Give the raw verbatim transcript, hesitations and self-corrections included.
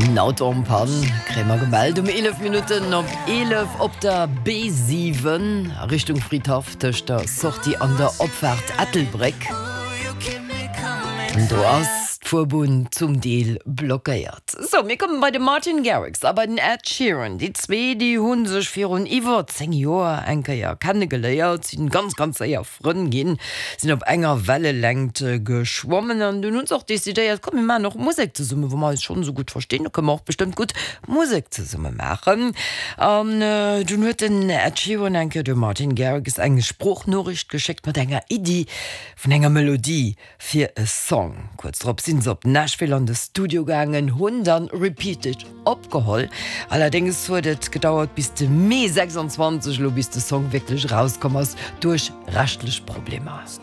En Auto en panne kréie mer gemellt um eelef Minutten op eelef op der B siwen a Richtung Fridhaff tëscht der Sortie an der Opfaart Ettelbréck. An do ass d'Fuerbunn zum Deel blockéiert. Sou, mir komme bei de Martin Garrix a bei den Ed Sheeran. Déi zwee, déi hu sech virun iwwer zéng Joer eng Kéier kennegeléiert, sinn ganz, ganz séier Frënn ginn, sinn op enger Wellelängt geschwommen an dunn hu se och decidéiert, komm mir maachen och Musek zesummen, wa mer eis schonn esou gutt verstinn, da kënne mer och bestëmmt gutt Musek zesumme maachen. An dunn huet den Ed Sheeran eng Kéier dem Martin Garrix eng Sproochnoriicht geschéckt mat enger Iddi vun enger Melodie fir e Song. Kuerz drop sinn se op Nashville an de Studio gaangen, hunn dann Repeat It opgeholl. Allerdéngs huet et gedauert bis de Mee sechsundzwanzeg elo bis de Song wierklech erauskomm ass, duerch rechtlech Problemer.